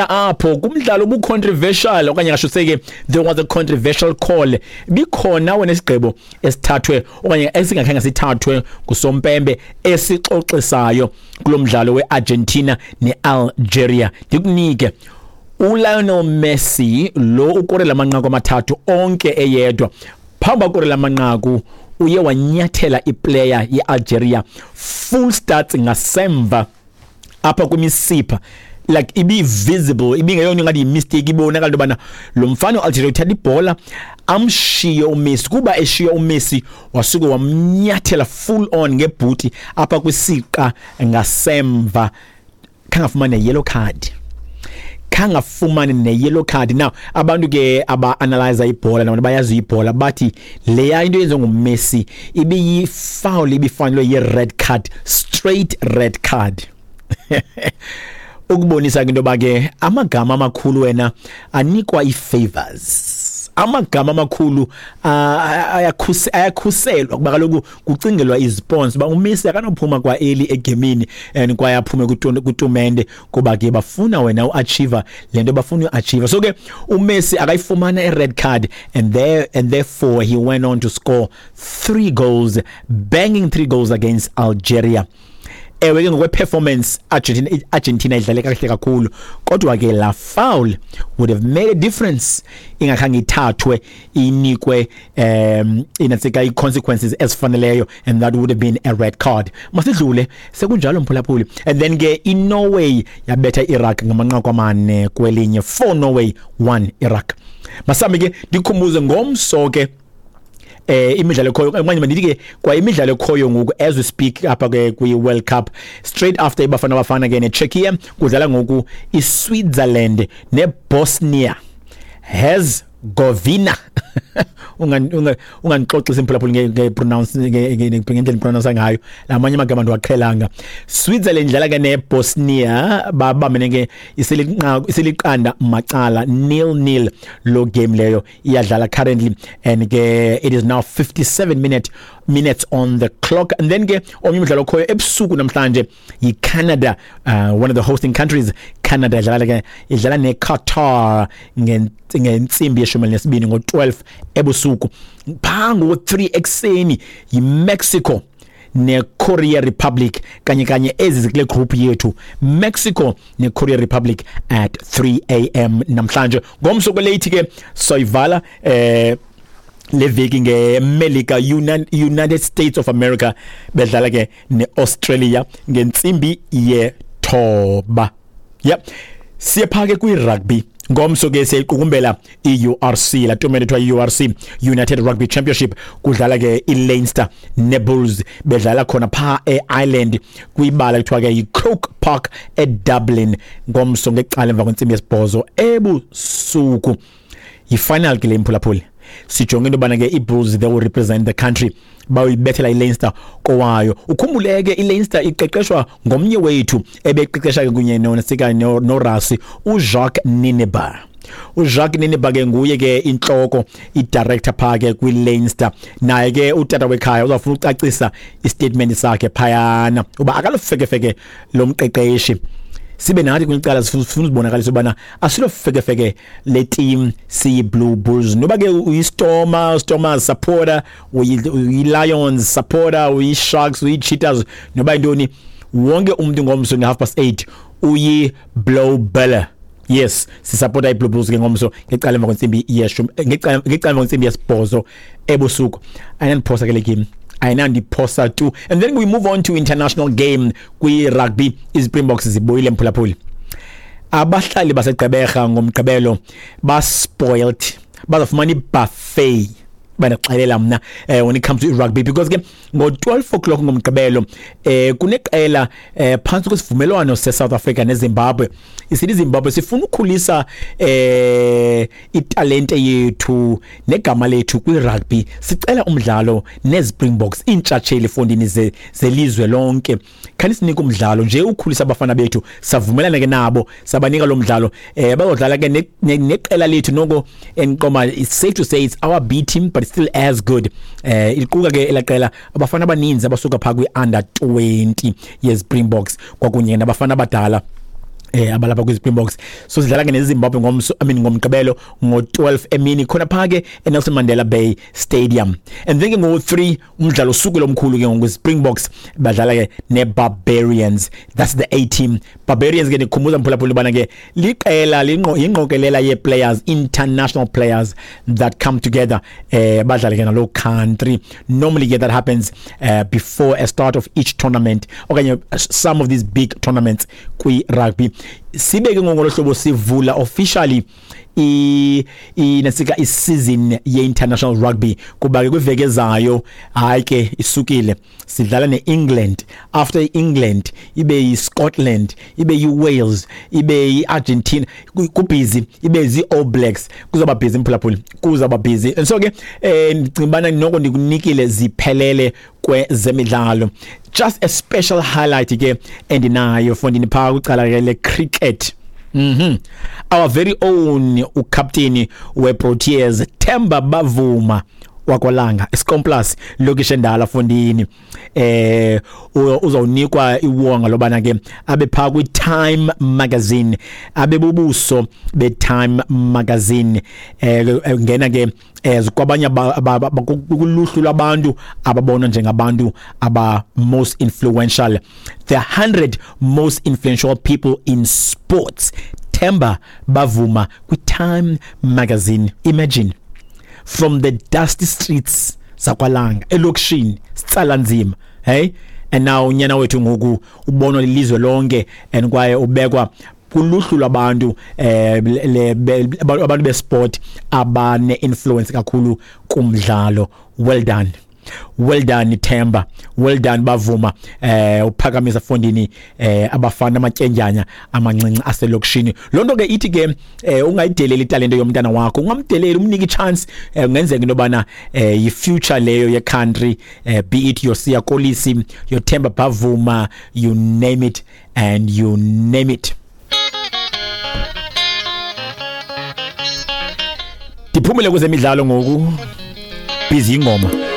Apho kumdlalo obucontroversial, okanye ngasho ke, there was a controversial call, bikhona wena isigqibo esithathwe okanye esingakhange sithathwe ngusompembe esixoxisayo kulo mdlalo weArgentina neAlgeria. Ndikunike uLionel Messi lo ukorela amanqaku amathathu onke eyedwa. Phambi akorela amanqaku, uye wanyathela iplayer yeAlgeria full start ngasemva apha kwimisipha, like ibi visible, ibingeyona ngathi yimistake, ibonakala into yobana lo mfana uAlgeria uthatha ibhola amshiye uMessi. Kuba eshiye uMessi, wasuke wamnyathela full on ngebhuti apha kwisiqa ngasemva. Khangafumane yellow card, khangafumane ne-yellow card. Now abantu ke aba-analyza ibhola nabantu bayazi ibhola bathi leya into yenziwe nguMessi ibiyi-foul, ibifanelwe yi-red card, straight red card, ukubonisa ke into yoba ke amagama amakhulu wena anikwa ii-favors, amagama amakhulu ayakhuselwa, kuba kaloku kucingelwa izisponsor uba uMessi akanophuma kwa early egemini and kwaye aphume kwitumente, kuba ke bafuna wena uachieve le nto bafuna uachieve. So ke uMessi akayifumana i-red card, and therefore he went on to score three goals, banging three goals against Algeria. Ewe ke, ngokwe-performance Argentina idlale kakuhle kakhulu, kodwa ke la foul would have made a difference ingakhange ithathwe, inikwe inantsika i-consequences ezifaneleyo, and that would have been a red card. Masidlule sekunjalo, mphulaphuli. And then ke iNorway yabetha i-Iraq ngamanqaku 4-1, 4 Norway, 1 Iraq. Masambe ke, ndikhumbuze ngomso ke imidlalo ekhoyo, okanye mandithi ke kwa imidlalo ekhoyo ngoku as we speak apha ke kwi-World Cup. Straight after iBafana Bafana ke neCzechia, kudlala ngoku iSwitzerland neBosnia Herzegovina. Ungandixoxisi, mphulaphuli, nge-pronounce, ngendlela pronounce ngayo lamanye amagama ndiwaqhelanga. Switzerland idlala ke neBosnia, babambene ke, iseliqanda macala, 0-0. Lo game leyo iyadlala currently, and ke it is now 57 minutes on the clock. And then ke omnye umdlalo okhoyo ebusuku namhlanje yiCanada, one of the hosting countries. Canada idlala ke, idlala neQatar ngentsimbi ye-12, ngo-12 ebusuku. Phaa ngo-3 ekuseni yiMexico neKorea Republic, kanye kanye ezi zikule group yethu, Mexico neKorea Republic at 3 a.m. namhlanje. Ngomso kweleyithi ke soyivala le veki ngeMelika, United States of America, bedlala ke neAustralia ngentsimbi ye-9. Yep, siye phaa ke kwi-rugby. Ngomso ke siyayiqukumbela i-URC, la tumente ethiwa i-URC, United Rugby Championship. Kudlala ke i-Leinster neBulls, bedlala khona phaa e-Ireland kwibala kuthiwa ke yi-Croke Park eDublin, ngomso ngecala emva kwentsimbi yesibhozo ebusuku. Yi-final ke le, mphulaphuli. Sijonge into yobana ke ii-Bulls, they will represent the country, bayoyibethela iLeinster kowayo. Ukhumbule ke iLeinster iqeqeshwa ngomnye wethu ebeqeqesha ke kunye nosika noRassie, uJacques Nienaber. uJacques Nienaber ke nguye ke intloko, i-director phaa ke kwiLeinster. Naye ke utata wekhaya uzawufuna ucacisa istatement sakhe phayana uba akalofekefeke lo mqeqeshi. Sibe nathi kwicala sifuna uzibonakalisa ubana asilofekefeke le team siyi-Blue Bulls. Noba ke uyi-Stormer, Stormers supporter, uyi-Lions supporter, uyi-Sharks, uyi-Cheetahs, noba yintoni, wonke umntu ngomso nge-8:30 uyi-Blou Bulle. Yes, sisupporta i-Blue Bulls ke ngomso ngecala emva kwentsimbi yeshumi, ngecala emva kwentsimbi yesibhozo ebusuku. Ayinandiphosa ke le game, ayinandiphosa tu. And then we move on to international game kwi-rugby. IZispringboks zibuyile, mphulaphuli. Abahlali baseGqeberha ngomgqibelo baspoiled, bazafumana ibuffet, bandaxelela mna, when it comes to rugby, because ke ngo-12 o'clock ngomgqibelo kuneqela phantsi kwesivumelwano se-South Africa neZimbabwe. Isithi iZimbabwe sifuna ukukhulisa italente yethu negama lethu kwi-rugby, sicela umdlalo neZispringboks, iintshatsheli fondini zelizwe lonke, khani sinike umdlalo nje ukhulisa abafana bethu. Savumelana ke nabo, sabanika lo mdlalo. Bazodlala ke neqela lethu noko enqoma, it's safe to say it's our B team, but it's still as good. Iquka ke elaqela abafana abaninzi abasuka phaa kwi-under 20 yeSpringboks kwakunye nabafana abadala. Abalapha kwi-Springboks. So sidlala ke neZimbabwe ngomso, I mean ngomgqibelo ngo-12 emini, khona phaa ke eNelson Mandela Bay Stadium. And then ke ngo-3 umdlalo usuku lomkhulu ke ngoku, Springboks badlala ke ne-Barbarians. That's the A team. Barbarians ke, ndikhumbuza mphulaphula ubana ke liqela yingqokelela yee-players, international players that come together, badlale ke naloo country. Normally ke that happens before a start of each tournament okanye some of these big tournaments kwi-rugby. Sibe ke ngolo hlobo sivula officially i nasika i-season ye-international rugby, kuba ke kwiveki ezayo, hayi ke, isukile, sidlala ne-England. After i-England ibe yi-Scotland, ibe yi-Wales, ibe yi-Argentina, kubhizi, ibe zii-All Blacks. Kuzawuba busy mphulaphuli, kuzawuba busy. And so ke ndicinga ubana noko ndikunikile ziphelele kwezemidlalo. Just a special highlight ke endinayo fondini phaa kwicala ke le-cricket. Our very own ukapteni weProteas, Themba Bavuma wakwaLanga, iScomplus, lokishi endala fondini, uzawunikwa iwonga lobana ke abe phaa kwi-Time Magazine, abe bubuso be-Time Magazine, ngena ke kwabanye kuluhlu lwabantu ababonwa njengabantu aba most influential, the 100 most influential people in sports. Themba Bavuma kwi-Time Magazine. Imagine, from the dusty streets zakwaLanga elokishini, sitsala nzima, hey, and now unyana wethu ngoku ubonwa lilizwe lonke and kwaye ubekwa kuluhlu lwabantu abantu besport abane influence kakhulu kumdlalo. Well done, well done Themba, well done Bavuma. Uphakamisa fondini abafana amatyendyanya amancinci aselokishini. Lonto ke ithi ke ungayideleli italente yomntana wakho, ungamdeleli, umnike ichance. Kungenzeka into yobana yi-future leyo ye-country, be it your Siya Kolisi, your Themba Bavuma, you name it and you name it. Ndiphumile kwezemidlalo ngoku, busy ingoma.